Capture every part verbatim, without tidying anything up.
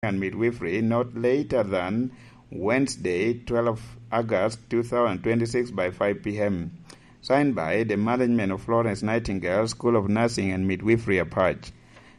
and midwifery not later than Wednesday, twelve August two thousand twenty-six by five p m. Signed by the management of Florence Nightingale School of Nursing and Midwifery, Apac.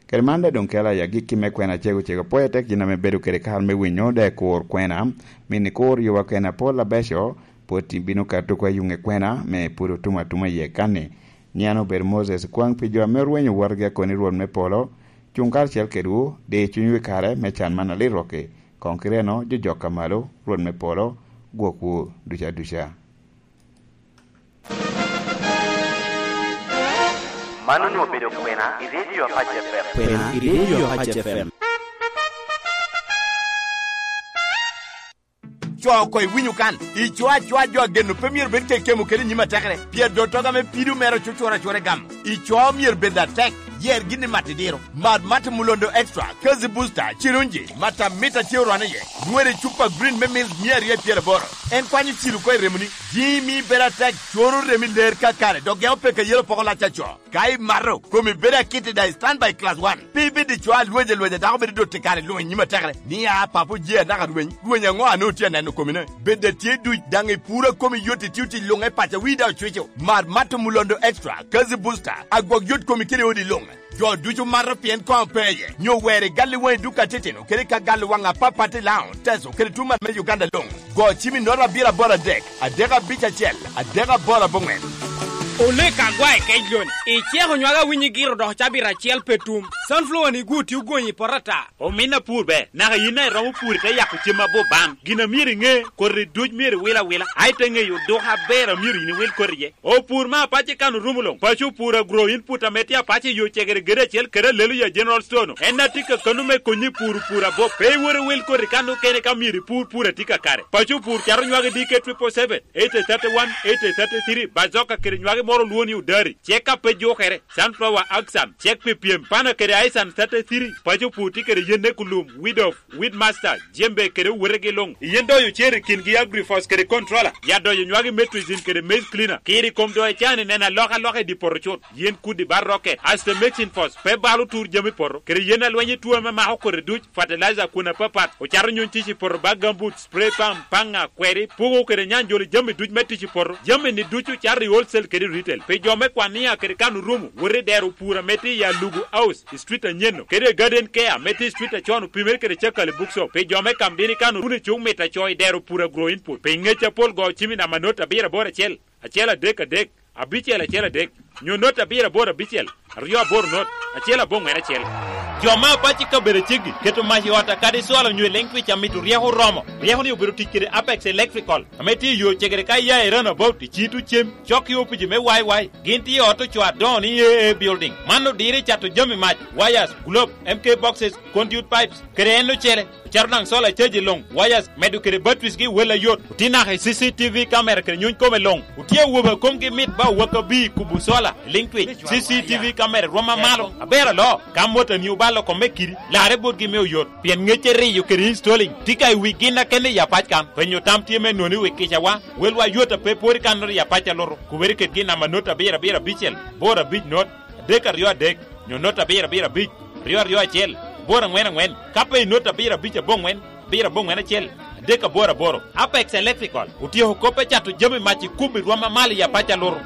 Kede man daŋ doŋ kela i agikki me kwena cego cego, pwoyo tek gin ame bedo kede kare me winyo, dok kur kwena, mini kur yowa kwena pol abeco, pwod bino kato kwa yuŋe kwena me pwod otum atuma iye kanni. Nyian obedo Moses kwaŋ pi jo ame orwenyo wotgi akoni Rwot me polo, cuŋ karacel kedwu, di cunywu i kare me can man alit rokki, koŋ kite eno jojok ka malo, Rwot me polo gwokwu duca duca. Man onwoŋo obedo kwena i redio Apac F M. Kwena i redio Apac F M. Co oko iwinyo kan, ico acoa jo ageno pe myero bed kekemo kede nyim atekere, pien dottoga me pido mere ocucuro acura i gamo. Ico myero bed atek, yer gin i mat idiro. Mar mat Mulondo Extra, Kazi Booster, Chirunji, mat amit a tye orwane iye, rwede i cupa green me mils mia aryo i pyeraboro. En kwanyo cilo oko i remoni, jiŋ mi bedo atek, coro remi ler kakare, dok geko peke yelo poko lac aco. Ka imato, komi bedo akit i daŋ i standby class one. Pe ibed i co a lweny alwenya dako bedo dot i kare luŋ i nyim atekere. Ni a papo je anaka rweny, rweny aŋo a nwoŋo tye aneno komine? Bed atye duc daŋ i puro a komi yot i tio tic luŋ e paco wi daŋ ocwico. Mar mat Mulondo Extra, Kazi Booster, agwok yot komi kede odi luŋ. Jo ducu mato pien koŋ pe iye, nyo wer i gal i waŋi duk atitino, kede ka gal i waŋ apapat i Laŋo, Teso, kede tuman me Uganda luŋ. Go cim i nota abiro aboro adek, adek abic acel, adek aboro aboŋwen. Olek agwa i kec loni, iceko nywaka winyi giro dok cabit acel pe tum. Sunflower ni gwo tye ogonyi i poto ata. Omin apur ber, naka yin a iromo pur ite yako cem abup ban. Gin a myero iŋe, koti duc myero iwil awila, a ite ŋeyo duka aber a myero yin iwil koti iye. Opur me apac i kan orumo luŋ. Paco opur agro input ame tye apac i yo cegere gede acel kede Aleluya General Store-nu. En a tye ka kano me konyi puro pur abop. Pe iwot iwil koti kan okene ka myero ipur pur a tye kakare. Paco opur cato nywagi D K triple seven, eight thirty-one, eight thirty-three, bazoka kede nywagi moro olwongo ni odari. Cek a pe jukere. Sunflower Axan, cek pi pyem. Pana kede Aisan thirty-three, paco opur tye kede yen ekulum, weed of, weed master, jembe kede owotegi luŋ. Yen doyo cer i kingi Agrifos kede Controller. Ya doyo nywagi Metrizin kede Maize Cleaner. Kiri kom doyo can i neno alokaloka i dye poto cut. Yen kudi bar rocket, Aster Mixing Force, pe balo tur jami poto, kede yen alweny i tuo ame mako koti duc, fertilizer kun apapat, ocato nyuŋ tic i poto ba gambut, spray pump, paŋa, kweri, pugo kede nyanjolo jami duc me tic i poto. Jami-ni ducu cato i wholesale kede retail. Pi jo me Kwania kede kan orumo, wot i dero pur ame tye i Alugu House, i street anyen-nu, kede Garden Care ame tye i street acon opimere kede Cakali Bookshop. Pi jo me Kamdini kan orumo i cuk mit aco i dero pur Agro Input. Pi ngec apol go cim i namba not abiro aboro acel, acel adek adek, abicel acel adek, nyo not abiro aboro abicel, aryo aboro not, acel aboŋwen acel. Jo me apac i kabedo aceggi keto mac i ot a kadi cwalo nyo i leŋ twic a mito ryeko oromo. Ryeko-ni obedo tic kede Apex Electrical, ame tye i yo cegere ka iya i Runabout i Citu Cem, cok i opici me Y Y. Gin tye i ot ocoo adoŋo ni A A Building. Man odiro i cato jami mac, wires, globe, M K boxes, conduit pipes, kede en ocele. Ocito daŋ solar charge luŋ, wires, medo kede batteries gi wel ayot. Otye naka i C C T V camera kede nyuny kome luŋ. Otye awobe a komgi mit ba owaka bi kubo solar i liŋ twic. C C T V camera rwom amalo. Aber alo, ka motani obalo kome kidi, larre botgi me oyot. Pien ŋecce riyo kede installing tye ka i wi gin akene i apac kan. Penyo tam tye me nwoŋo i wi kicawa. Welwa yot a pe pwod i kannoro i apac alutu. Kubere kedgi i namba not abiro abiro abicel, boro abic not, adek aryo adek, nyo not abiro abiro abic, ryo aryo acel, boro aŋwen aŋwen, ka pe i not abiro abic aboŋwen, abiro aboŋwen acel, adek aboro aboro. Apex Electrical otyeko kop me cato jami mac i kubo i rwom amalo i apac alutu.